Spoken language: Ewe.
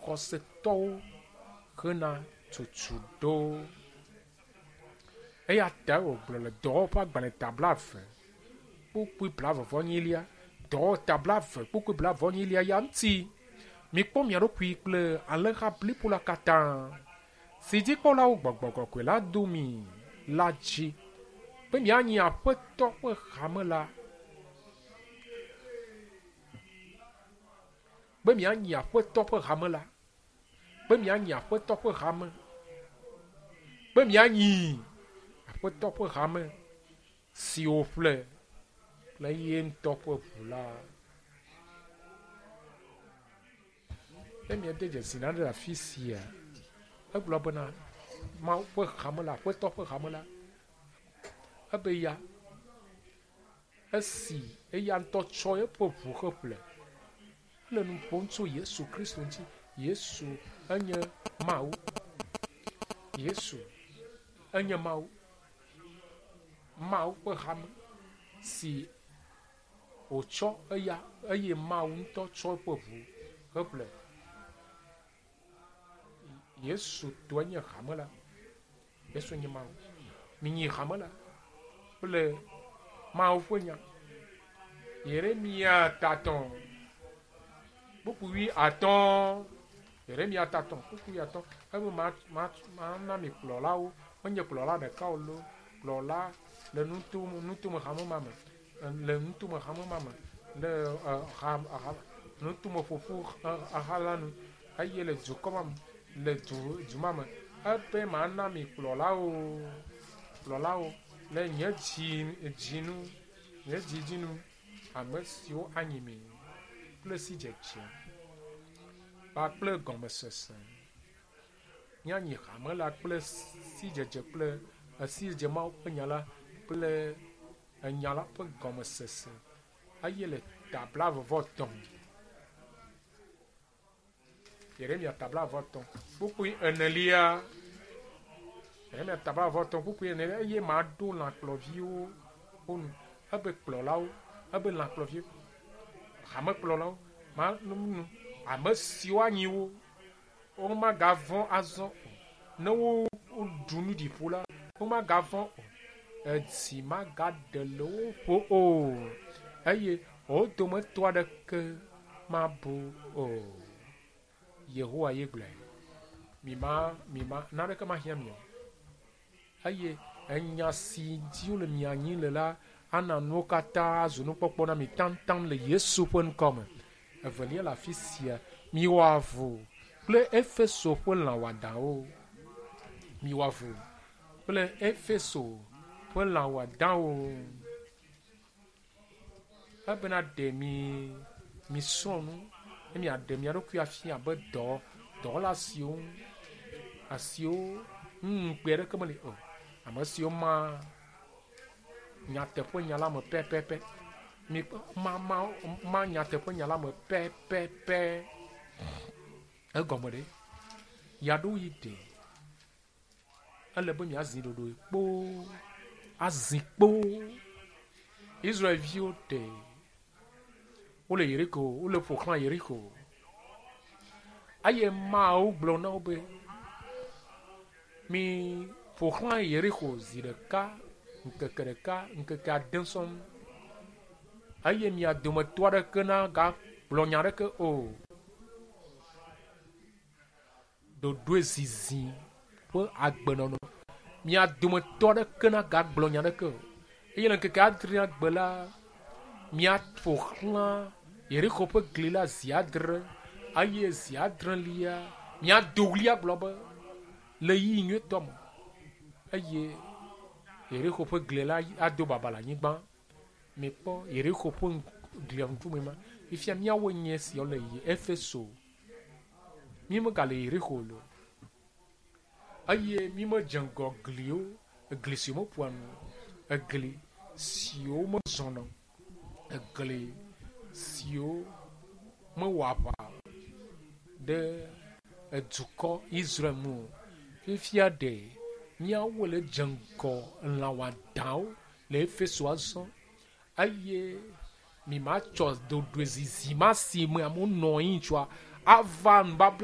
xɔsetɔwo hena tutu ɖo. Eya ta wògblɔ le Dɔwɔwɔ ƒe agbalẽ ta blaeve kpukpui blaeve-vɔ-enyilia, Dɔwɔwɔ ta blaeve kpukpui blaeve-vɔ-enyilia ya ŋuti, Mikpɔ mia ɖokui kple alẽha blibo la katã, si dzikpɔlawo Gbɔgbɔ Kɔkɔe la do mi la dzi, be mianyi Aƒetɔ ƒe hame la. Be mianyi Aƒetɔ ƒe hame la. Be mianyi Aƒetɔ ƒe hame. Be mianyi Aƒetɔ ƒe hame si wòƒle kple ye ŋutɔ ƒe ʋu la. Ne miede dzesi nane le afi sia, egblɔ bena Mawu ƒe hame la, Aƒetɔ ƒe hame la, ebe ya Esi eya ŋutɔ tsɔ eƒe ʋu heƒle. Ele nu ƒom tso Yesu Kristo ŋuti. Yesu enye Mawu. Yesu enye Mawu. Mawu ƒe hame si wòtsɔ eya eye Mawu ŋutɔ tsɔ eƒe ʋu heƒle. Yesu tɔe nye hame la. Yesu nye Mawu. Minyi hame la kple Mawu ƒe nya. Yeremia tatɔ̃ kpukpui wuiatɔ̃. Yeremia tatɔ̃ kpukpui wuiatɔ̃. Ebe ma ma mana mi kplɔlawo. Menye kplɔla ɖeka o loo. Kplɔla le nuto nutome hame ma me. Le nutome hame ma me. Le ha ha nutome ƒoƒu ha la nu eye le dukɔ ma me le du du ma me. Ebe mana mi kplɔlawo kplɔlawo le nye dzi dzi nu nye dzi dzi nu ame siwo anyi mi kple sidzedze kpakple gɔmesese. Míanyi hame la kple sidzedze kple sidzedze Mawu ƒe nya la kple enya la ƒe gɔmesese eye le ta blaeve-vɔ-etɔ̃. Yeremia ta blaeve-vɔ-etɔ̃ kpukpui enelia. Yeremia ta blaeve-vɔ-etɔ̃ kpukpui enelia eye maɖo lãkplɔviwo wo nu. Ebe kplɔlawo, ebe lãkplɔviwo, hamekplɔlawo, ma nu ame siwo anyi wo Womagavɔ̃ azɔ o. Ne woɖu nu ɖi ƒo la, womagavɔ̃ o. Edzi magaɖe le wo ƒo o, eye wo dometɔ aɖeke mabu o. Yehowa ye gblɔe. Mima, mima, naneke mahiã mi o. Eye enya si dzi wole mia nyi le la ana nuwo katã azu nukpɔkpɔ na mi taŋtaŋ le Yesu ƒe ŋkɔ me. Evelia le afi sia, miwɔ avu kple Efeso ƒe lã wɔadãwo. Miwɔ avu kple Efeso ƒe lã wɔadãwo. Ebena ɖe mi misrɔ̃ nu ne miaɖe mia ɖokui afia abe dɔ dɔwɔla siwo ŋu asiwo ŋu ŋukpe aɖeke meli o. Ame siwo ma nyateƒe nya la me pɛpɛpɛ. Mi ma ma ma nyateƒe nya la me pɛpɛpɛ. Egɔme ɖe yaɖoɣi ɖe. Ele be miazi ɖoɖoe kpoo, azi kpoo. Israelviwo ɖe wole Yeriko, wole ƒo xlã Yeriko. Eye Mawu gblɔ na wo be, mi ƒo xlã Yeriko zi ɖeka, ŋkeke ɖeka, ŋkeke ade sɔŋ. Eye mia dometɔ aɖeke nagagblɔ nya aɖeke o. Ɖoɖoe zizi ƒe agbenɔnɔ. Mia dometɔ aɖeke nagagblɔ nya aɖeke o. Eye le ŋkeke adrea gbe la, miaƒo xlã Yerixo ƒe gli la zi adre eye zi adrelia miado ɣli agblɔ be, Le ɣeyiɣi nyuietɔ me eye Yerixo ƒe gli la ado baba le anyigba. Mikpɔ Yerixo ƒe glia ŋkume ma. Fifia míawoe nye esiawo le Efeso. Mímegale Yerixo o. Eye mímedze ŋgɔ gliwo, egli siwo meƒoa nu o, egli siwo mezɔna o, egli siwo mewɔ aʋa ɖe edukɔ Israel ŋu o. Fifia ɖe míawo le dze ŋgɔ lã wɔadãwo le Efeso azɔ eye mi ma tsɔ dodoe zizi ma si me amewo nɔ anyi tsoa ava nubabla.